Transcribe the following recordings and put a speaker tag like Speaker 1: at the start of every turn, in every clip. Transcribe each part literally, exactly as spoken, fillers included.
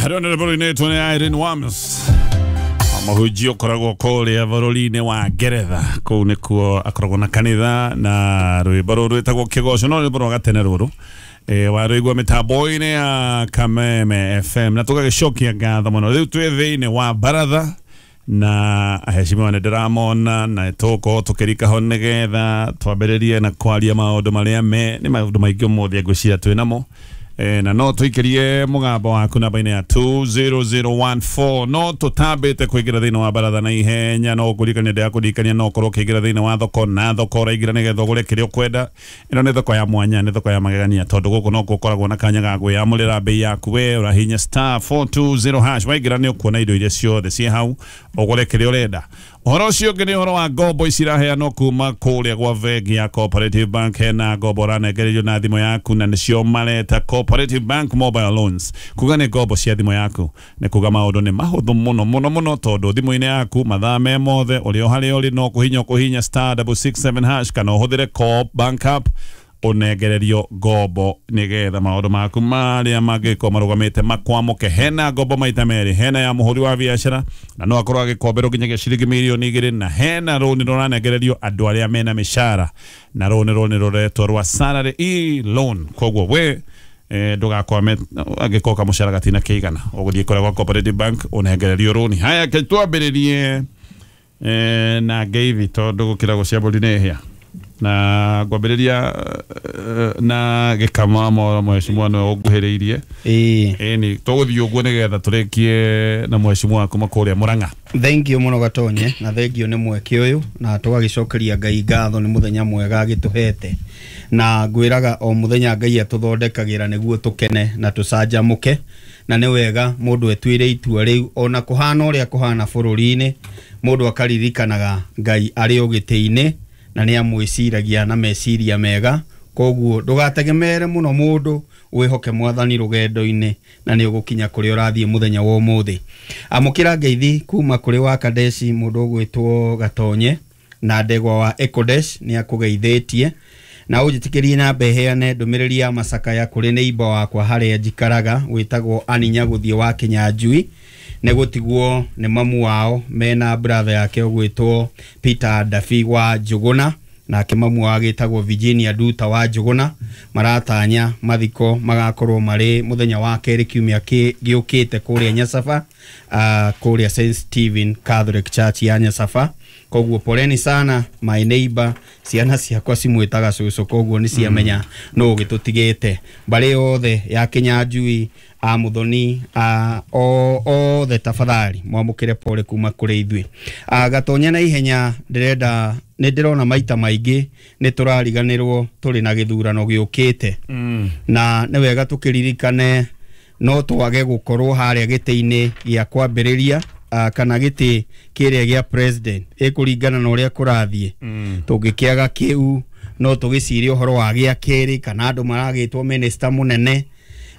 Speaker 1: Honorable inetwo nĩ Irene Wams, mũhunjia ũkoragwo kũrĩa bũrũri-inĩ wa Ngeretha. Kũu nĩkuo akoragwo na kanitha, na rwĩmbo rũrũ rwĩtagwo Kĩgoco, no rwĩmbo rwa gatene rũrũ e, warũigua mĩtambo-inĩ ya Kameme F M, na tũgagĩcokia ngatho mũno. Rĩu twĩ thĩinĩ wa baratha na aheshimiwa nĩ ndĩramona, na tũgũkorwo tũkĩrika ho nĩgetha twambĩrĩrie na kwaria maũndũ marĩa me nĩ maũndũ maingĩ ũmũthĩ ngwĩciria twĩ namo. E, na no tũikĩrie mũgambo waku namba-inĩ ya two zero zero one four. No tũtambĩte kũingĩra thĩinĩ wa baratha na ihenya, no ngũririkania, ndĩrakũririkania no ũkorwo ũkĩingĩra thĩinĩ wa thoko, na thoko ũraingĩra nĩgetha ũgũre kĩrĩa ũkwenda. Ĩno nĩ thoko ya mwanya, nĩ thoko ya magegania, tondũ gũkũ no gũkoragwo na kanya ga kwĩyamũrĩra mbei yaku. We ũrahinya star four two zero hash, waingĩra nĩ ũkuona indo iria ciothe ciĩ hau, ũgũre kĩrĩa ũrenda. Ũhoro ũcio ũngĩ nĩ ũhoro wa ngombo ici iraheanwo kuma kũrĩa gwa bengi ya Cooperative Bank. Hena ngombo ũranengererio na thimũ yaku, na nĩcio mareta Cooperative Bank Mobile Loans, kuga nĩ ngombo cia thimũ yaku. Nĩ kuga maũndũ nĩ mahũthũ mũno mũno mũno, tondũ thimũ-inĩ yaku mathaa me mothe, ũrĩ o harĩa ũrĩ, no kũhinya ũkũhinya star double six seven hash kana ũhũthĩre Co-op Bank app, ũnengererio ngombo nĩgetha maũndũ maku marĩa mangĩkorwo marũgamĩte makwamũke. Hena ngombo maita merĩ: hena ya mũhũri wa biacara, na no akorwo agĩkomberwo nginyagia ciringi mirioni igĩrĩ, na hena rũni rũranengererio andũ arĩa mena mĩcara, na rũni rũni rũretwo rwa salary e loan. Koguo we eh, ndũgakwame angĩkorwo kamũcara gatina kĩigana, ũgũthiĩ kũrĩa gwa Cooperative Bank ũnengererio rũni. Haya, ke twambĩrĩrie eh, na ngeithi, tondũ gũkĩra gũcia mbũri nĩ hĩa, na ngwambĩrĩria eh, na gĩkama moro. Mheshimiwa nĩwe ũnguhĩrĩirie.
Speaker 2: Ĩĩ.
Speaker 1: Ĩni, tũgũthiĩ ũguo nĩgetha tũrĩkie na mheshimiwa kuma kũrĩa Mũrang'a.
Speaker 2: Thank you mũno Gatonye, na thank you nĩ mweke ũyũ, na tũgagĩcokeria Ngai ngatho nĩ mũthenya mwega agĩtũhete. Na ngwĩraga o mũthenya Ngai atũthondekagĩra nĩguo tũkene na tũcanjamũke, na nĩ wega mũndũ etuĩre itua rĩu ona kũhana ũrĩa kũhana bũrũri-inĩ, mũndũ akaririkanaga Ngai arĩ o gĩtĩ-inĩ na nĩ amwĩciragia na meciria mega. Koguo ndũgategemere mũno mũndũ, wĩhoke Mwathani rũgendo-inĩ na nĩ ũgũkinya kũrĩa ũrathiĩ. Mũthenya wa ũmũthĩ amũkĩra ngeithi kuma kũrĩ wa Kadeshi, mũndũ ũgwĩtwo Gatonye na ndegwa wa Ekodesh nĩ akũgeithĩtie. Na ũnjĩtĩkĩrie na heane ndũmĩrĩri ya macakaya kũrĩ neighbor wakwa harĩa njikaraga wĩtagwo Aninya gũthiĩ wa Kinyanjui, nĩ gũtigwo nĩ mamu wao mena brother yake ũgwĩtwo Peter Dafi wa Njũgũna, nake mamu wao agĩtagwo Virginia Duta wa Njũgũna. Maratanya mathiko magakorwo marĩ mũthenya wa kerĩ kiumia kĩ- gĩũkĩte kũrĩa Nyasaba, uh, kũrĩa Saint Stephen Catholic Church ya Nyasaba. Koguo poleni sana my neighbor, ciana ciakwa cimwĩtaga cũcũ, koguo nĩ ciamenya mm. nũ ũgĩtũtigĩte. Mbarĩ yothe ya Kinyanjui, a Muthoni, a o othe, tafadhali mwamũkĩre pole kuma kũrĩ ithuĩ. A Gatonya, na ihenya ndĩrenda, nĩ ndĩrona maita maingĩ nĩ tũrariganĩrwo tũrĩ na gĩthurano gĩũkĩte,
Speaker 1: mm.
Speaker 2: na nĩ wega tũkĩririkane no twage gũkorwo harĩa gĩtĩ-inĩ gĩa kwambĩrĩria uh, kana gĩtĩ kĩrĩa gĩa president, ĩkũringana na ũrĩa kũrathiĩ.
Speaker 1: Mm.
Speaker 2: Tũngĩkĩaga kĩu, no tũgĩcirie ũhoro wa gĩa kerĩ kana andũ maragĩtwo minister mũnene,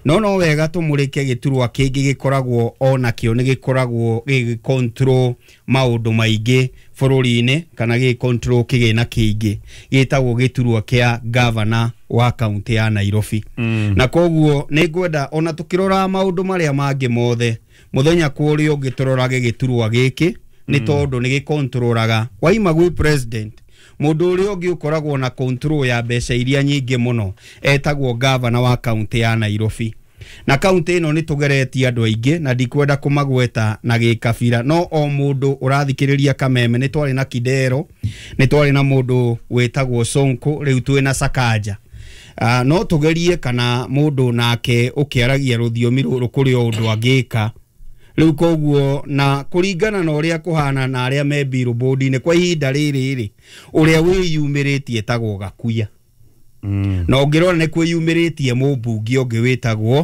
Speaker 2: no no wega tũmũrĩke gĩturwa kĩngĩ gĩkoragwo ona kĩo nĩ gĩkoragwo gĩgĩ control maũndũ maingĩ bũrũri-inĩ kana gĩgĩ control kĩgĩna kĩingĩ, gĩtagwo gĩturwa kĩa governor wa kaunti ya Nairobi.
Speaker 1: Mm.
Speaker 2: Na koguo nĩ ngwenda ona tũkĩroraga maũndũ marĩa mangĩ mothe, mũthenya kũrĩa ũngĩ tũrorage gĩturwa gĩkĩ, nĩ tondũ nĩ gĩkontrolaga waima gwĩ president. Mũndũ ũrĩa ũngĩ ũkoragwo na control ya mbeca iria nyingĩ mũno etagwo governor wa kaunti ya Nairobi. Na kaunti ĩno nĩ tũgeretie andũ aingĩ, na ndikwenda kũmagweta na gĩkabira, no o mũndũ ũrathikĩrĩria Kameme, nĩ twarĩ na Kidero, nĩ twarĩ na mũndũ wĩtagwo Sonko, rĩu twĩ na Sakaja. Uh, no tũgerie kana mũndũ nake ũkĩaragia rũthiomi rũrũ kũrĩ o ũndũ angĩka rĩu. Koguo na kũringana na ũrĩa kũhana na arĩa me billboard-inĩ kwa ihinda rĩrĩ rĩ, ũrĩa wĩyumĩrĩtie etagwo Gakuya.
Speaker 1: Mm.
Speaker 2: Na ũngĩrora nĩ kwĩyumĩrĩtie mũmbunge ũngĩ wĩtagwo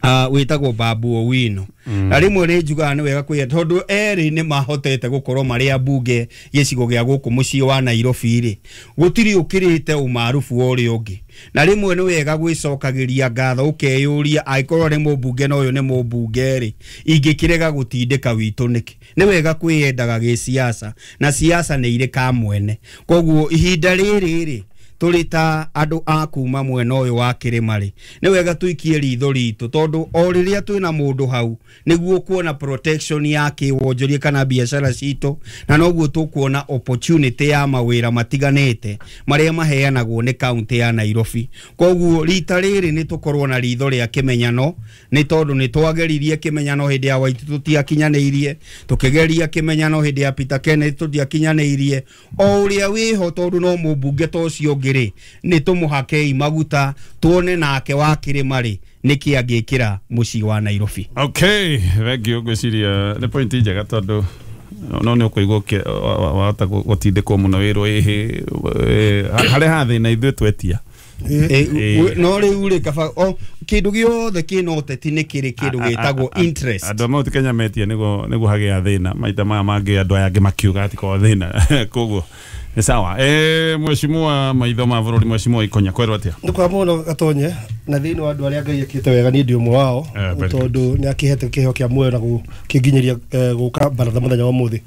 Speaker 2: uh, wĩtagwo Babu Owino. mm. Na rĩmwe nĩ njugaga nĩ wega kwĩya tondũ erĩ nĩ mahotete gũkorwo marĩ ambunge gĩcigo gĩa gũkũ mũciĩ wa Nairobi rĩ, gũtirĩ ũkĩrĩte ũmarubu wa ũrĩa ũngĩ. Na rĩmwe nĩ wega gwĩcokagĩria ngatho, ũkeyũria angĩkorwo nĩ mũmbunge na ũyũ nĩ mũmbunge rĩ, ingĩkĩrega gũtindĩka witũ nĩkĩ? Nĩ wega kwĩyendaga gĩsiasa, na siasa nĩ irĩ kamwene. Koguo ihinda rĩrĩ rĩ tũrĩ ta andũ a kuma mwena ũyũ wa kĩrĩma rĩ, nĩ wega tũikie ritho ritũ, tondũ o rĩrĩa twĩna mũndũ hau nĩguo kuona protection ya kĩwonjoria kana biacara citũ, na noguo tũkuona opportunity ya mawĩra matiganĩte marĩa maheanagwo nĩ kaunti ya Nairobi. Koguo rita rĩrĩ nĩ tũkorwo na ritho rĩa kĩmenyano, nĩ tondũ nĩ twageririe kĩmenyano hĩndĩ ya Waititu tũtiakinyanĩirie, tũkĩgeria kĩmenyano hĩndĩ ya Peter Kenneth tũtiakinyanĩirie, o ũrĩa wĩho tondũ no mũmbunge ta ũcio ũngĩ rĩ, nĩ tũmũhakei maguta tuone nake wa kĩrĩma rĩ nĩkĩ angĩkĩra mũciĩ wa Nairobi.
Speaker 1: Okay, thank you. Ngwĩciria nĩ point njega tondũ no nĩ ũkũigua wahota gũtindĩkwo mũno wĩrwo ĩhĩ harĩa hathĩna ithuĩ twetia.
Speaker 2: No rĩu rĩ kaba o kĩndũ gĩothe kĩna ũteti nĩ kĩrĩ kĩndũ gĩtagwo interest.
Speaker 1: Andũ a Mount Kenya metia nĩguo nĩguo hagĩa thĩna maita maya mangĩ andũ aya angĩ makiuga atĩ kwa thĩna koguo nĩ sawa. Eh, mheshimiwa maitho ma bũrũri, mheshimiwa Ikonya, kwerwo atĩa?
Speaker 3: Nĩ kwa mũno Gatonye, na thĩinĩ wa andũ arĩa Ngai ekĩte wega niĩ ndĩ ũmwe wao, tondũ nĩ akĩhete kĩheo kĩa muoyo na gũkĩnginyĩria gũka baratha mũthenya wa ũmũthĩ.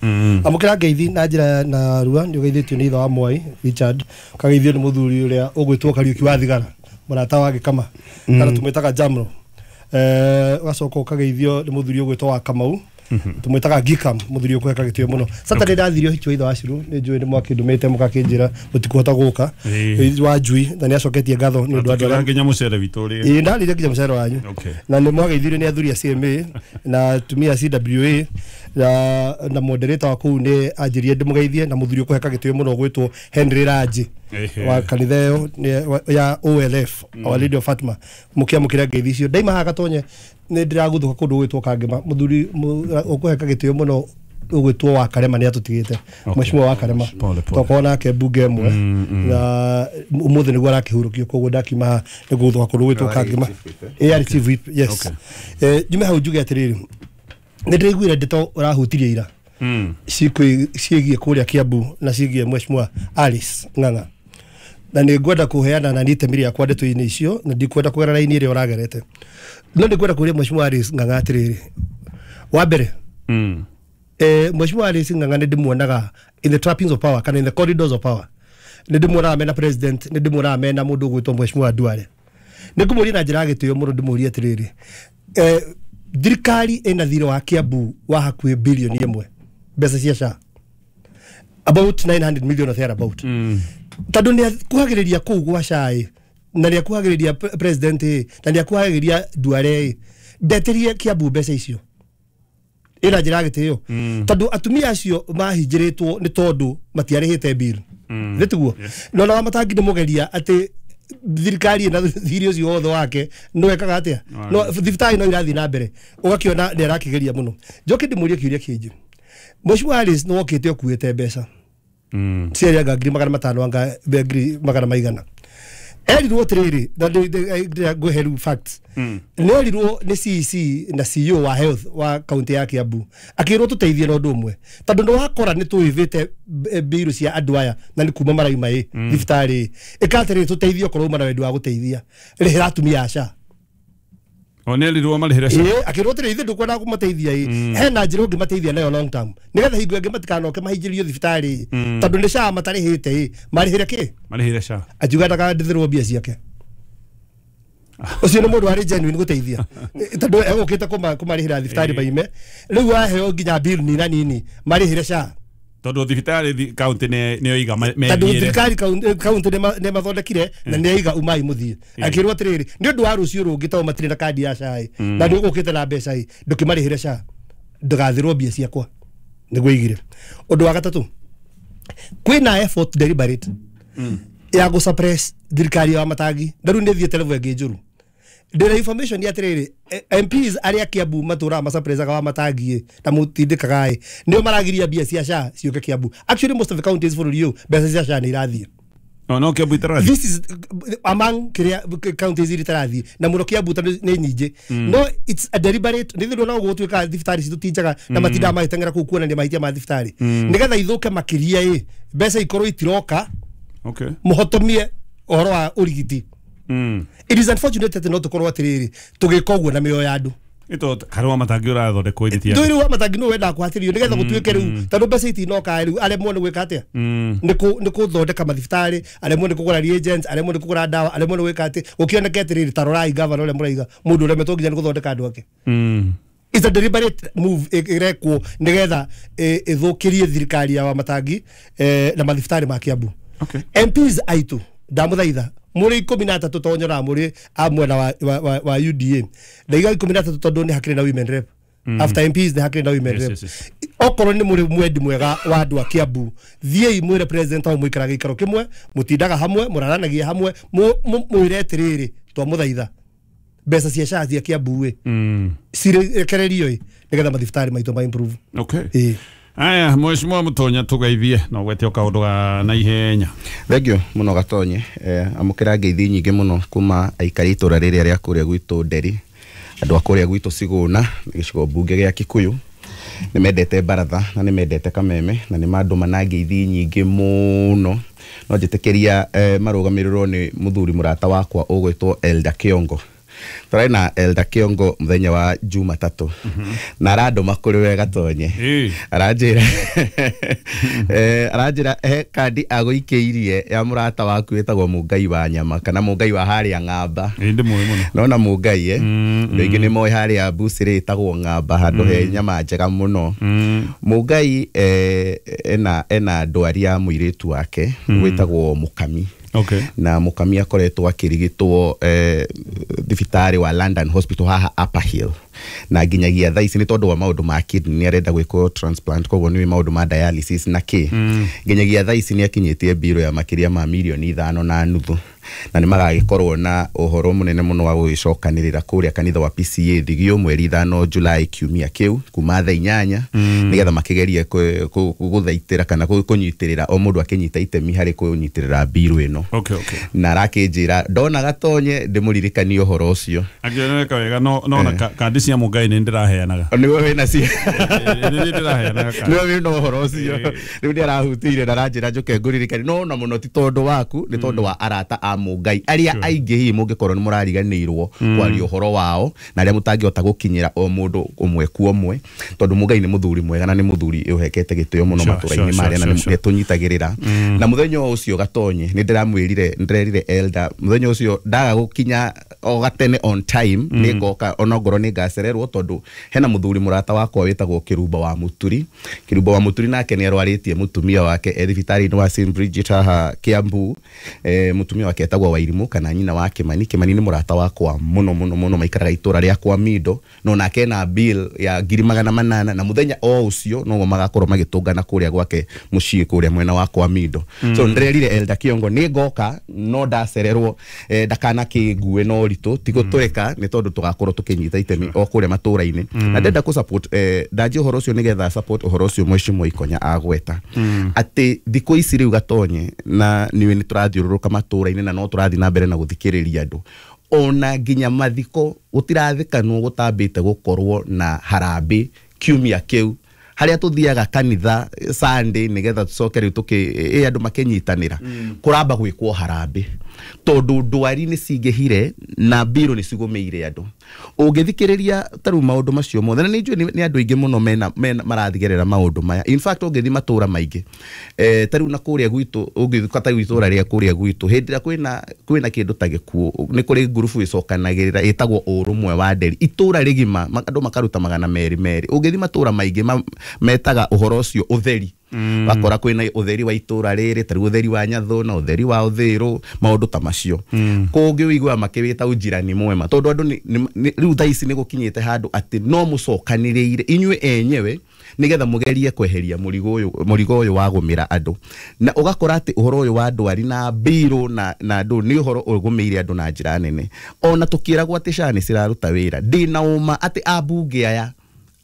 Speaker 3: Amũkĩra ngeithi na njĩra na rua, nĩ ũgeithĩtio nĩ ithe wa Mwai Richard, ũkageithio nĩ mũthuri ũrĩa ũgwĩtwo Kariũki wa Thigara, mũrata wa Gĩkama, kana tũmwĩtaga Jamro. Eh, ũgacoka ũkageithio nĩ mũthuri ũgwĩtwo wa Kamau, tumwitaga Gikam, muthuri ukuheka gitio muno. Saturday ndathire ũhiki wa ithe wa Ciru, nĩ njũĩ nĩ mwakĩndũmĩte mũgakĩnjĩra mũtikũhota gũka wa njui, na nĩ acoketie ngatho nĩ ũndũ wa andũ arĩa
Speaker 1: nginya mũcere witũ rĩ.
Speaker 3: Ĩĩ, ndarĩire nginya mũcere wanyu. Na nĩ mwageithirio nĩ athuri a C M A na atumia a C W A na na moderator wa kũu nĩ anjĩrire ndĩmũgeithie, na mũthuri ũkũheka gĩtĩo mũno ũgwĩtwo Henry Raji wa kanitha ĩyo ya O L F, Our Lady of Fatima, mũkĩamũkĩra ngeithi icio. Ndaima haha Gatonye nĩ ndĩragũthũka kũndũ gũgwĩtwo Kangema, mũthuri ũkũheka gĩtĩo mũno ũgwĩtwo wa Karema nĩ atũtigĩte, mheshimiwa wa Karema, twakorwo nake mbunge ĩmwe na ũmũthĩ nĩguo arakĩhurũkio, koguo ndakiuma haha nĩ gũgũthũka kũndũ gũgwĩtwo Kangema. A R Chief Whip, yes. Njume hau njuge atĩrĩrĩ, nĩ ndĩraiguire ndeto ũrahutirie ira ciĩgiĩ kũrĩa Kiambu na ciĩgiĩ mheshimiwa Alice Ng'ang'a, na nĩ ngwenda kũheana na niĩ itemi rĩakwa ndeto-inĩ icio, na ndikwenda kũgera raini ĩrĩa ũragerete, no nĩ ngwenda kũũria mheshimiwa Alice Ng'ang'a atĩrĩrĩ. Wa mbere, eh, mheshimiwa Alice Ng'ang'a nĩ ndĩmuonaga in the trappings of power kana in the corridors of power, nĩ ndĩmuonaga mena president, nĩ ndĩmuonaga mena mũndũ ũgwĩtwo mheshimiwa Duale. Nĩ ngũmũria na njĩra ya gĩtĩo mũno, ndĩmũrie atĩrĩrĩ, eh, thirikari ĩna thirĩ wa Kiambu wa hakuhĩ bilioni ĩmwe mbeca cia S H A, about nine hundred million or thereabout. Tondũ nĩ akuhagĩrĩria kũu gwa S H A na nĩ akuhagĩrĩria president na nĩ akuhagĩrĩria Duale, ndetĩrie Kiambu mbeca icio ĩna njĩra ya gĩtĩo, tondũ atumia acio mahinjĩrĩtwo nĩ tondũ matiarĩhĩte bill. Nĩ tiguo? No na Wamatangi nĩ mũgeria atĩ thirikari na thiri ũcio wothe wake no ekaga atĩa, no thibitarĩ no irathiĩ na mbere, ũgakĩona nĩ arakĩgeria mũno. Njoke ndĩmũrie kĩũria kĩngĩ, mheshimiwa Alice nĩ wokĩte ũkuĩte mbeca ciarĩ anga ngiri magana matano anga ngiri magana maigana, erirwo atĩrĩrĩ, na ngũhe rĩu facts, nĩ erirwo nĩ C E C na C E O wa health wa kaunti ya Kiambu, akĩrwo tũteithie na ũndũ ũmwe, tondũ nĩ wakora nĩ tũĩvĩte mbirũ cia andũ aya na nĩ kuma marauma ĩ thibitarĩ, ĩka atĩrĩrĩ, tũteithie okorwo uma na wendi wa gũteithia, rĩhĩra atumia a S H A.
Speaker 1: O nĩ erirwo marĩhĩre S H A.
Speaker 3: Ĩĩ, akĩrwo atĩrĩrĩ, ithuĩ ndũkwenda kũmateithia ĩ, hena njĩra ũngĩmateithia nayo long term, nĩgetha hingo ĩngĩ matikanoke mahingĩrio thibitarĩ, tondũ nĩ S H A matarĩhĩte ĩ, marĩhĩre kĩ?
Speaker 1: Marĩhĩre S H A.
Speaker 3: Akiuga ndakandĩthĩrwo mbia ciake. Ũcio nĩ mũndũ warĩ genuine gũteithia, tondũ egũkĩte kũmarĩhĩra thibitarĩ maime, rĩu aheo nginya bill nina nini marĩhĩre S H A.
Speaker 1: Tondũ thibitarĩ kaunti nĩ oiga
Speaker 3: methiĩre, tondũ thirikari kaunti nĩ mathondekire na nĩ oiga umai mũthiĩ. Akĩrwo atĩrĩrĩ, nĩ ũndũ wa rũciũ rũngĩ tondũ matirĩ na kandi ya S H A na nĩ ũgũkĩte na mbeca ĩ, ndũkĩmarĩhĩre S H A, ndũgathĩrwo mbia ciakwa, nĩguo oigire. Ũndũ wa gatatũ, kwĩna effort deliberate ya gũ suppress thirikari ya Wamatangi, na rĩu nĩ thiĩte level ĩngĩ njũru. Ndĩna information ya atĩrĩrĩ, M Ps arĩa Kiambu matũraga masuppressaga Wamatangi na mũtindĩkaga ĩ, nĩo maragiria mbia cia S H A ciũke Kiambu. Actually most of the counties bũrũri ũyũ mbeca cia S H A nĩ irathiĩ.
Speaker 1: No, no Kiambu itarathiĩ.
Speaker 3: This is among kĩrĩa counties iria itarathiĩ, na mũno Kiambu tondũ nĩ nyingĩ. No it's a deliberate, nĩ thĩna no gũtuĩka thibitarĩ citũ ti njega na matindaga magĩteng'era kũu kuonania mahĩtia ma thibitarĩ, nĩgetha ithũke makĩria ĩ, mbeca ikorwo itiroka.
Speaker 1: Okay.
Speaker 3: Mũhotomie ũhoro wa ũrigiti. It is unfortunate atĩ no tũkorwo atĩrĩrĩ tũgĩka ũguo na mĩoyo ya andũ.
Speaker 1: Ito Karua Matangi ũrathondekwo ithiti
Speaker 3: ndå rä wa Matangi nä wendaga kũhatĩrĩrio nĩgetha gũtuĩke rĩu tondũ mbeca itinoka rĩu aremwo nĩ gwĩka atĩa nĩ kũ- nĩ kũthondeka mathibitarĩ, aremwo nĩ kũgũra reagents, aremwo nĩ kũgũra ndawa, aremwo nĩ gwĩka atĩ gũkĩoneke atĩrĩrĩ, ta rorai gavana ũrĩa mũraiga mũndũ ũremetwo nginya nĩ gũthondeka andũ ake.
Speaker 1: Mm.
Speaker 3: It's a deliberate move ĩrekwo nĩgetha ĩ- ĩthũkĩrie thirikari ya Wamatangi eh, na mathibitarĩ ma Kiambu.
Speaker 1: Okay.
Speaker 3: M Ps aitũ ndamũthaitha mũrĩ ikũmi na atatũ to nyonaga mũrĩ a mwena wa, wa, wa, wa U D A, ndaiga ikũmi na atatũ tondũ nĩ hakĩrĩ na women rep. Mm. After M Ps nĩ hakĩrĩ na women
Speaker 1: Yes,
Speaker 3: rep.
Speaker 1: yes, yes.
Speaker 3: Okorwo nĩ mũrĩ mwendi mwega wa andũ a Kiambu, thiĩi mwĩre president wao mũikaraga gĩikaro kĩmwe, mũtindaga hamwe, mũraranagia hamwe, mwĩre atĩrĩrĩ twamũthaitha mbeca cia SHA cia Kiambu ĩ
Speaker 1: Mm.
Speaker 3: cirekererio ĩ nĩgetha mathibitarĩ maitũ ma improve.
Speaker 1: Okay.
Speaker 3: Ĩ.
Speaker 1: Aya, mheshimiwa Mutonya tugeithie na ũgwete o kaũndũ ga naihenya.
Speaker 4: Thank mũno Gatonye. Eh, amũkĩra ngeithi nyingĩ mũno kuma aikari itũra rĩrĩa rĩa kũrĩa gwitũ Nderi, andũ a kũrĩa gwitũ Cigũna, gĩcigo mbunge gĩa Kikuyu. Nĩ mendete baratha na nĩ mendete kameme na nĩ mandũma na ngeithi nyingĩ mũno. No njĩtĩkĩria eh, marũgamĩrĩrwo nĩ mũthuri mũrata wakwa ũgwĩtwo Elder Kiongo. Tũrarĩ na Elder Kiongo mũthenya wa Jumatatũ. Na arandũma kũrĩ we Gatonye. Aranjĩra eh aranjĩra he kandi agũikĩirie ya mũrata waku wĩtagwo Mũngai wa nyama kana Mũngai wa harĩa Ng'amba.
Speaker 1: Ĩ ndĩmũĩ mũno.
Speaker 4: Nona Mũngai eh andũ aingĩ nĩ moĩ harĩa Bucĩrĩ ĩtagwo Ng'amba handũ he nyama njega mũno. Mũngai eh ena ena ndwari ya mũirĩtu wake wĩtagwo Mũkami.
Speaker 1: Okay.
Speaker 4: Na Mũkami akoretwo akĩrigitwo eh, thibitarĩ wa London Hospital haha Upper Hill, na nginyagia thaa ici nĩ tondũ wa maũndũ ma kidney nĩ arenda gwĩkwo transplant, koguo nĩ maũndũ ma dialysis na kĩ. Nginyagia thaa ici nĩ akinyĩtie mbirũ ya makĩria ma mirioni ithano na nuthu, na nĩ magagĩkorwo na ũhoro mũnene mũno wa gũgĩcokanĩrĩra kũrĩa kanitha wa P C A Thigio mweri ithano July kiumia kĩu kuma thaa inyanya, nĩgetha makĩgerie gũthaitĩra kana kũnyitĩrĩra o mũndũ akĩnyita itemi harĩ kũnyitĩrĩra mbirũ ĩno.
Speaker 1: Okay, okay.
Speaker 4: Na arakĩnjĩra ndona Gatonye ndĩmũririkanie ũhoro ũcio.
Speaker 1: Akĩoneka wega no no na kandi cia Mũngai nĩ ndĩraheanaga.
Speaker 4: Nĩwe wĩna cio.
Speaker 1: Nĩ ndĩraheanaga kandi.
Speaker 4: Nĩwe wĩna ũhoro ũcio. Rĩu nĩ arahutĩire na aranjĩra njoke ngũririkanie no na mũno ti tondũ waku, nĩ tondũ wa arata a Mũngai arĩa aingĩ hihi mũngĩkorwo nĩ mũrariganĩirwo kwaria ũhoro wao na arĩa mũtangĩhota gũkinyĩra o mũndũ ũmwe kwa ũmwe, tondũ Mũngai nĩ mũthuri mwega na nĩ mũthuri ũhekete gĩtĩo mũno matũra-inĩ marĩa na nĩ tũnyitagĩrĩra. Na mũthenya ũcio Gatonye nĩ ndĩramwĩrire, ndĩrerire Elder mũthenya ũcio ndaga gũkinya o gatene on time nĩ ngoka onongorwo nĩ ngacererwo tondũ hena mũthuri mũrata wakwa wĩtagwo Kĩrumba wa Mũturi. Kĩrumba wa Mũturi nake nĩ arwarĩtie mũtumia wake e thibitarĩ-inĩ wa Saint Bridget haha Kiambu. Eh, mũtumia wake etagwo Wairimu kana nyina wa Kimani. Kimani nĩ mũrata wakwa mũno mũno mũno, maikaraga itũra rĩa kwa Mindo, no nake ena bill ya ngiri magana manana na mũthenya o ũcio noguo magakorwo magĩtũngana kũrĩa gwake mũciĩ kũrĩa mwena wa kwa Mindo. So ndĩrerire Elder Kiongo nĩ ngoka no ndacererwo eh, ndakanakĩngue no ũritũ ti gũtũrĩka nĩ tondũ tũgakorwo tũkĩnyita itemi o kũrĩa matũra-inĩ. Na ndenda kũ support eh, ndanjie ũhoro ũcio nĩgetha support ũhoro ũcio mheshimiwa Ikonya agweta atĩ thikũ ici rĩu Gatonye na niwe nĩ tũrathiũrũrũka matũra-inĩ na no tũrathiĩ na mbere na gũthikĩrĩria andũ, ona nginya mathiko gũtirathikanwo gũtambĩte gũkorwo na harambĩ kiumia kĩu harĩa tuthiaga kanitha Sunday nigetha tucoke riu tuki ĩ andũ makĩnyitanĩra kũramba gwĩkwo harambĩ tondũ ndwari nĩ cingĩhire na mbirũ nĩ cigũmĩire andũ. Ũngĩthikĩrĩria ta rĩu maũndũ macio mothe na nĩ njũĩ nĩ andũ aingĩ mũno mena marathigerera maũndũ maya. In fact ũngĩthiĩ matũra maingĩ eh, ta rĩu na kũrĩa gwitũ ũngĩthiĩ ta rĩu itũra rĩa kũrĩa gwitũ hĩndĩ ĩrĩa kwĩna kwĩna kĩndũ ta gĩkuũ nĩ kũrĩ ngurubu ĩcokanagĩrĩra ĩtagwo ũrũmwe wa Nderi itũra rĩgima andũ makaruta magana merĩ merĩ. Ũngĩthiĩ matũra maingĩ metaga ũhoro ũcio ũtheri, wakora kwĩna ũtheri wa itũra rĩrĩ ta rĩu ũtheri wa Nyathũ na ũtheri wa Ũthĩrũ maũndũ ta macio. Kũngĩ ũiguaga makĩwĩta ũnjirani mwema tondũ andũ rĩu thaa ici nĩ gũkinyĩte handũ atĩ no mũcokanĩrĩire inyuĩ enyewe nĩgetha mũgerie kweheria mũrigo ũyũ mũrigo ũyũ wa gũmĩra andũ, na ũgakora atĩ ũhoro ũyũ wa ndwari na mbirũ na na andũ nĩ ũhoro ũgũmĩire andũ na njĩra nene. Ona tũkĩragwo atĩ SHA nĩ ciraruta wĩra, ndĩna ũma atĩ ambunge aya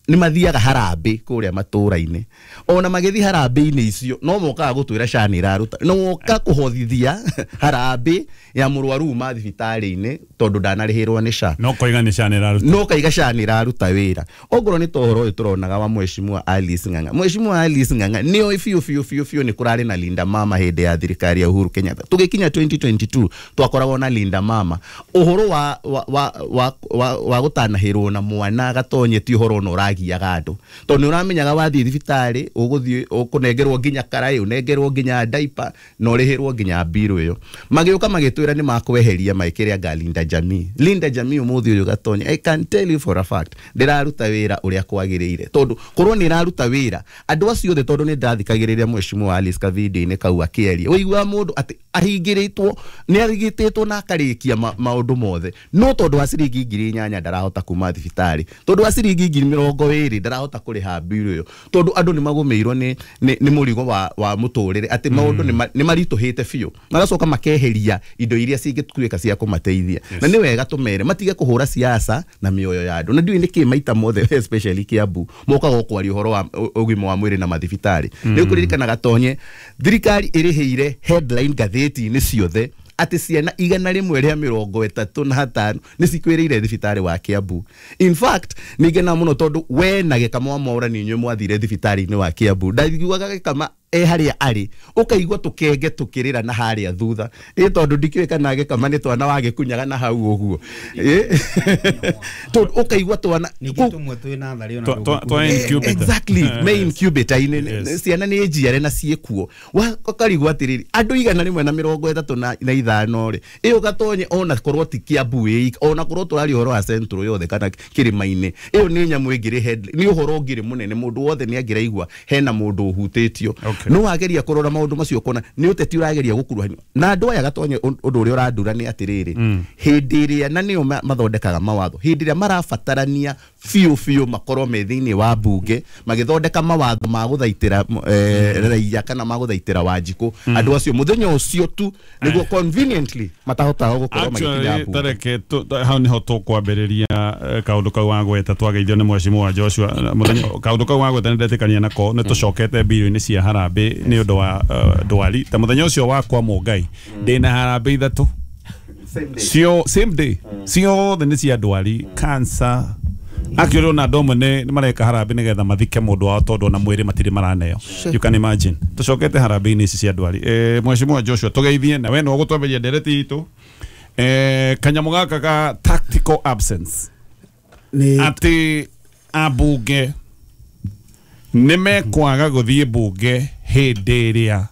Speaker 4: Nĩ mathiaga harambĩ kũrĩa matũũra-inĩ, ona magĩthiĩ harambĩ-inĩ icio no mokaga gũtwĩra SHA nĩ ĩraruta, no moka kũhothithia harambĩ ya mũrwaru uma thibitarĩ-inĩ tondũ ndanarĩhĩrwo nĩ SHA.
Speaker 1: No koiga nĩ SHA nĩ ĩraruta,
Speaker 4: no kaiga SHA nĩ ĩraruta wĩra. Ongorwo nĩ ta ũhoro ũyũ tũronaga wa Mheshimiwa Alice Ng'ang'a, Mheshimiwa Alice Ng'ang'a nĩoĩ biũ biũ biũ biũ nĩ kũrarĩ na Linda Mama hĩndĩ ya thirikari ya Uhuru Kenyatta. Tũgĩkinya twenty twenty-two twakoragwo na Linda Mama. Ũhoro wa wa wa wa, wa, wa gũtanahĩrwo na mwana gatonye ti ũhoro ona ũragiaga andũ, tondũ nĩ ũramenyaga wathiĩ thibitarĩ ũgũthiĩ ũkũnengerwo nginya karaĩ, ũnengerwo nginya diaper na ũrĩhĩrwo nginya mbirũ ĩyo. Magĩũka magĩtwĩra nĩ makweheria maĩkĩre anga Linda Jamii. Linda Jamii ũmũthĩ ũyũ gatonye, I can tell you for a fact ndĩraruta wĩra ũrĩa kwagĩrĩire, tondũ korwo nĩ ĩraruta wĩra andũ acio othe, tondũ nĩ ndathikagĩrĩria Mheshimiwa Alice kavideo-inĩ kau akĩaria, ũiguaga mũndũ atĩ ahingĩrĩtwo nĩ arigitĩtwo na akarĩkia maũndũ mothe, no tondũ wa ciringi ngiri inyanya ndarahota kuma thibitarĩ, tondũ wa ciringi ngiri mĩrongo ĩrĩ ndarahota kũrĩha mbirũ ĩyo, tondũ andũ nĩ magũmĩirwo nĩ nĩ mũrigo wa wa mũtũrĩre, atĩ maũndũ nĩ maritũhĩte biũ, magacoka makeheria indo iria cingĩtuĩka cia kũmateithia. Na nĩ wega tũmere matige kũhũra siasa na mĩoyo ya andũ, na ndiũĩ nĩkĩ maita mothe especially Kiambu mokaga kwaria ũhoro wa ũgima wa mwĩrĩ na mathibitarĩ. Nĩ ũkũririkana gatonye thirikari ĩrĩhĩire headline ngathĩti-inĩ ciothe atĩ ciana igana rĩmwe rĩa mĩrongo ĩtatũ na hatano nĩ cikwĩrĩire thibitarĩ wa Kiambu. In fact nĩ ngena mũno tondũ we na Gĩkama wa Mwaũra nĩ inyuĩ mwathire thibitarĩ-inĩ wa Kiambu, ndaiguaga Gĩkama e harĩa arĩ ũkaigua tũkenge tũkĩrĩra na harĩa thutha, ĩ tondũ ndikĩũĩ kana Gĩkama nĩ twana wagĩkunyaga na hau ũguo, tondũ ũkaigua twana exactly me incubator-inĩ ciana nĩ njiare na ciĩkuo, ũkarigwo atĩrĩrĩ andũ igana rĩmwe na mĩrongo ĩtatũ na ithano rĩ, ĩyo gatonye ona korwo ti Kiambu ĩika, ona korwo tũraria ũhoro wa Central yothe kana kĩrĩma-inĩ, ĩyo nĩ nyamũ ĩngĩrĩ headline, nĩ ũhoro ũngĩrĩ mũnene, mũndũ wothe nĩ angĩraigua hena mũndũ ũhutĩtio. No wageria kũrora maũndũ macio ũkona nĩ ũteti ũrageria gũkuruhanio na andũ aya gatonye. Ũndũ ũrĩa ũrandura nĩ atĩrĩrĩ, hĩndĩ ĩrĩa na nĩo mathondekaga mawatho, hĩndĩ ĩrĩa marabatarania biũ biũ makorwo me thĩinĩ wa mbunge magĩthondeka mawatho ma gũthaitĩra raia kana ma gũthaitĩra Wanjikũ, andũ acio mũthenya ũcio tu nĩguo conveniently matahotaga gũkorwo magĩkinya mbunge.
Speaker 1: Tareke hau nĩho tũkwambĩrĩria kaũndũ kau wagweta twageithio nĩ Mheshimiwa Joshua. Mũthenya kaũndũ kau wagweta nĩ ndetĩkania nako, nĩ tũcokete mbirũ-inĩ cia harambĩ nĩ ũndũ wa ndwari. Ta mũthenya ũcio wakwa Mũngai ndĩna harambĩ ithatũ cio same day, ciothe nĩ cia ndwari cancer. Actually ona andũ amwe nĩ mareka harambĩ nĩgetha mathike mũndũ wao tondũ ona mwĩrĩ matirĩ maraneo. You can imagine tũcokete harambĩ-inĩ ici cia ndwari. Eh, Mheshimiwa Joshua tũgeithie na we no ũgũtwambĩrĩria ndereti itũ. Eh, kanyamũ gaka ga tactical absence atĩ ambunge nĩ mekwaga gũthiĩ mbunge hĩndĩ ĩrĩa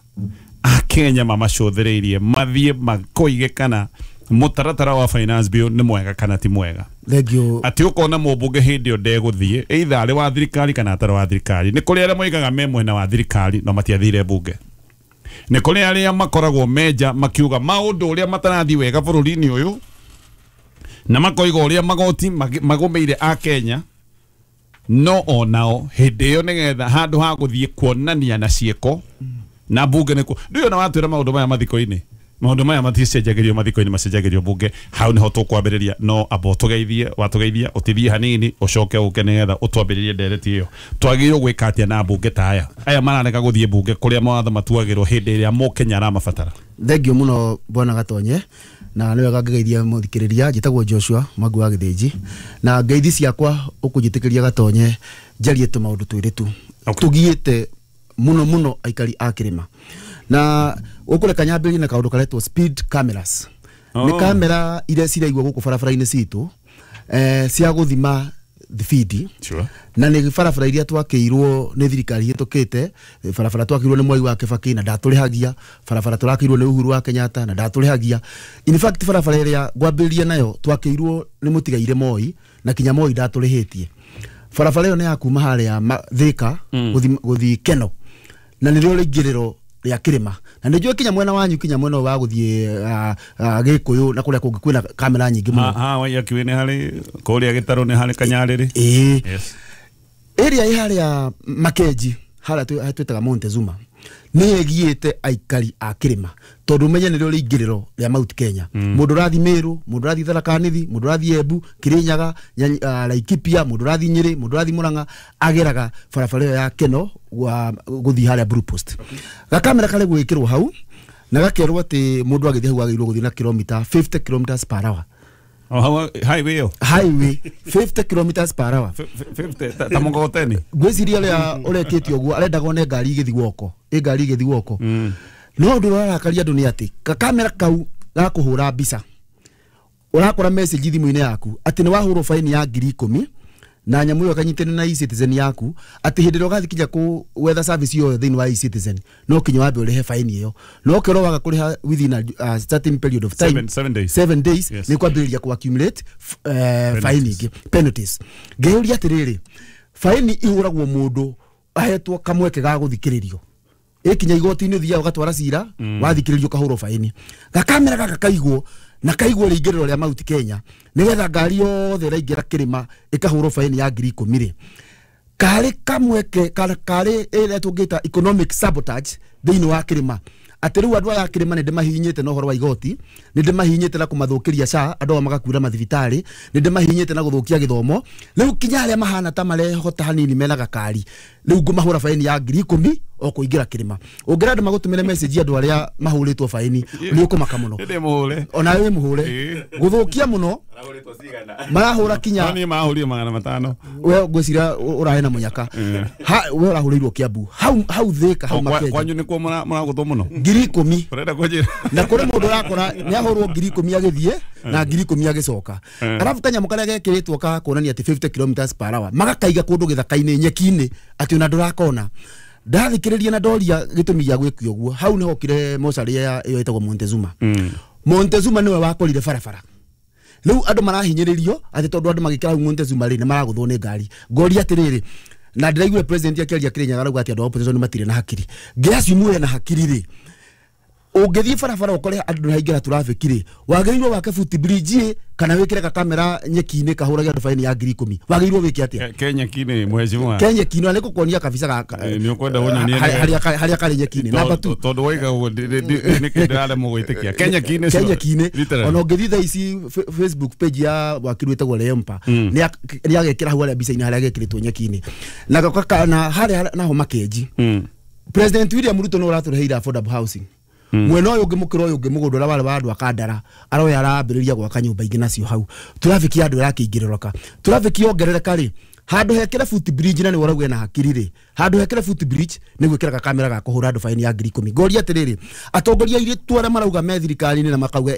Speaker 1: akenya mamacũthĩrĩirie mathiĩ makoige kana mũtaratara wa finance bill nĩ mwega kana ti mwega. Atĩ ũkona mũmbunge hĩndĩ ĩyo ndegũthiĩ either arĩ wa thirikari kana atarĩ wa thirikari. Nĩ kũrĩ arĩa moigaga me mwena wa thirikari no matiathire mbunge, nĩ kũrĩ arĩa makoragwo menja makiuga maũndũ ũrĩa matarathiĩ wega bũrũri-inĩ ũyũ na makoiga ũrĩa magoti magũmĩire akenya, no onao hĩndĩ ĩyo nĩgetha handũ ha gũthiĩ kuonania na ciĩko na mbunge nĩkuo. Ndũĩ ona watwĩra maũndũ maya mathiko-inĩ, maũndũ maya maticenjagĩrio mathiko-inĩ, macenjagĩrio mbunge. Hau nĩho tũkwambĩrĩria, no amba ũtũgeithie, watũgeithia ũtithie hanini ũcoke ũke nĩgetha ũtwambĩrĩrie ndereti ĩyo. Twagĩrĩirwo gwĩka atĩa na mbunge ta aya aya mararega gũthiĩ mbunge kũrĩa mawatho matuagĩrwo hĩndĩ ĩrĩa mũkenya aramabatara?
Speaker 5: Thengio mũno bwana Gatonye, na nĩ wega ngĩgeithia mũthikĩrĩria. Njĩtagwo Joshua Mwangi wa Gĩthĩnji, na ngeithi ciakwa ũkũnjĩtĩkĩria Gatonye njarie tũmaũndũ twĩrĩ tu tũgiĩte mũno mũno aikari a kĩrĩma, na ũkũreka nyambĩrĩrie na kaũndũ karetwo speed cameras. Nĩ kamera iria ciraigwo gũkũ barabara-inĩ citũ eh, cia gũthima thibindi.
Speaker 1: Sure.
Speaker 5: Na nĩ barabara iria twakĩirwo nĩ thirikari hĩtũkĩte, barabara twakĩirwo nĩ Mwai wa Kibaki na ndatũrĩhagia, barabara tũrakĩirwo nĩ Uhuru wa Kenyatta na ndatũrĩhagia. In fact barabara ĩrĩa ngwambĩrĩria nayo twakĩirwo nĩ mũtigaire Moi na kinya Moi ndatũrĩhĩtie. Barabara ĩyo nĩ ya kuma harĩa Thika gũthiĩ Keno, na nĩrĩo rĩingĩrĩro rĩa kĩrĩma, na nĩnjũĩ kinya mwena wanyu kinya mwena wa gũthiĩ Gĩkũyũ na kũrĩa kũngĩ kwĩna kamera nyingĩ mũno.
Speaker 1: Ha Waiyaki nĩ harĩ kũrĩa Gĩtarũ nĩ harĩ Kanyarĩrĩ.
Speaker 5: Ĩĩ, area ĩ harĩa Makenji harĩa twĩtaga Montezuma. Nĩ ĩgiĩte aikari a kĩrĩma tondũ menye nĩrĩo rĩingĩrĩro rĩa Mount Kenya. Mũndũ ũrathiĩ Meru, mũndũ ũrathiĩ Tharaka Nithi, mũndũ ũrathiĩ Embu, Kirinyaga, uh, Laikipia, mũndũ ũrathiĩ Nyĩrĩ, mũndũ ũrathiĩ Murang'a, ageraga barabara ĩyo ya Keno gũthiĩ harĩa Blue Post. Gakamera karĩ gwĩkĩrwo hau na gakerwo atĩ mũndũ agĩthiĩ hau agĩrĩirwo gũthiĩ na kilomita fifty kilometers per hour.
Speaker 1: Oh, how highway yo?
Speaker 5: Highway fifty kilometers per hour.
Speaker 1: fifty ta mkokoteni.
Speaker 5: Ngwĩciria ũrĩa ũrekĩte ũguo arendaga one ngari igĩthiĩ woko, ĩ ngari igĩthiĩ woko. No ũndũ ũrarakaria andũ nĩ atĩ kakamera kau gakũhũra mbica. Ũrakora message thimũ-inĩ yaku atĩ nĩ wahũrwo faini ya ngiri ikũmi na nyamũ ĩyo kanyitene na e-citizen yaku atĩ hĩndĩ ĩrĩa ũgathiĩ kinya kũ wetha service ĩyo thĩinĩ wa e-citizen no kinya wambe ũrĩhe faini ĩyo no ũkerwo waga kũrĩha within a uh, certain period of time,
Speaker 1: seven, seven days,
Speaker 5: seven days
Speaker 1: yes.
Speaker 5: Nĩ kwambĩrĩria ku accumulate uh, faini ingĩ, penalties. Ngĩũria atĩrĩrĩ, faini ihũragwo mũndũ ahetwo kamweke ga gũthikĩrĩrio ikinya igoti-inĩ ũthiaga ũgatwara cira mm. wathikĩrĩrio ũkahũrwo faini. Gakamera gaka kaigwo na kaigwo rĩingĩrĩro rĩa Mount Kenya nĩgetha ngari yothe ĩraingĩra kĩrĩma ĩkahũrwo faini ya ngiri ikũmi rĩ, karĩ kamweke karĩ ĩrĩa tũngĩta economic sabotage thĩinĩ wa kĩrĩma atĩ rĩu andũ aya a kĩrĩma nĩ ndĩmahihinyĩte na ũhoro wa igoti, nĩ ndĩmahihinyĩte na kũmathũkĩria S H A, andũ aya magakuĩra mathibitarĩ, nĩ ndĩmahihinyĩte na gũthũkia gĩthomo. Rĩu kinya arĩa mahana ta marehota hanini mena gakari rĩu ngũmahũra faini ya ngiri ikũmi o kũingĩra kĩrĩma. Ũngĩra andũ magũtũmĩre message andũ arĩa mahũrĩtwo faini nĩ ũkũmaka mũno. Ona wĩ mũhũre gũthũkia mũno marahũra kinya
Speaker 1: niĩ mahũrire magana matano.
Speaker 5: We ngwĩciria ũrarĩ na mũnyaka ha we ũrahũrĩirwo Kiambu hau hau Thĩka hau Makenji
Speaker 1: kwanyu nĩkuo mũragũthwo mũno
Speaker 5: ngiri ikũmi.
Speaker 1: Ũrenda kũnjĩra
Speaker 5: na kũrĩ mũndũ ũrakora nĩ ahũrwo ngiri ikũmi agĩthiĩ na ngiri ikũmi agĩcoka. Arabu kanyamũ karĩa gekĩrĩtwo ka kuonania atĩ fifty kilometers per hour magakaiga kũndũ gĩthaka-inĩ nyeki-inĩ atĩ ona ndũrakona. Ndathikĩrĩria na ndoria gĩtũmi gĩa gwĩkio ũguo hau nĩho okire mocarĩ ĩyo ĩtagwo Montezuma. Montezuma nĩwe wakorire barabara. Rĩu andũ marahinyĩrĩrio atĩ tondũ andũ magĩkĩra hau Montezuma rĩ nĩ maragũthwo nĩ ngari. Ngoria atĩrĩrĩ, na ndĩraiguire president akĩaria Kĩrĩnyaga arauga atĩ andũ a opposition matirĩ na hakiri. Ngĩacimu na hakiri rĩ, ũngĩthiĩ barabara ũkore andũ nĩhaingĩra traffic rĩ, wagĩrĩirwo wake foot bridge kana wĩkĩre gakamera nyeki-inĩ kahũrage andũ faini ya ngiri ikũmi. Wagĩrĩirwo wĩke atĩa?
Speaker 1: Ke nyeki-inĩ mheshimiwa.
Speaker 5: Ke nyeki-inĩ na nĩngũkuonia kabica gaka
Speaker 1: nĩ ũkwenda ũnyonie
Speaker 5: harĩa harĩa karĩ nyeki-inĩ. Number two,
Speaker 1: tondũ waiga ũguo nĩkĩ ndĩraremwo gwĩtĩkia. Ke nyeki-inĩ
Speaker 5: ke nyeki-inĩ ona ũngĩthiĩ thaa ici Facebook page ya wakiri wĩtagwo Leompa nĩ agekĩra hau harĩa mbica-inĩ harĩa gekĩrĩtwo nyeki-inĩ na na harĩa naho Makenji. President William Ruto nĩ ũratũreheire affordable housing. Mwena ũyũ ũngĩ mũkĩra ũyũ ũngĩ mũgũnda ũrĩa warĩ wa andũ a Kandara aroya arambĩrĩria gwaka nyũmba ingĩ nacio hau. Traffic ya andũ ĩrakĩingĩrĩrũka. Traffic yongerereka rĩ, handũ hekĩre foot bridge na nĩ ũrauga ena hakiri rĩ, handũ hekĩre foot bridge nĩ gwĩkĩra gakamera ga kũhũra andũ faini ya ngiri ikũmi. Ngoria atĩrĩrĩ, atongoria airĩtu arĩa marauga me thirikari-inĩ na makauga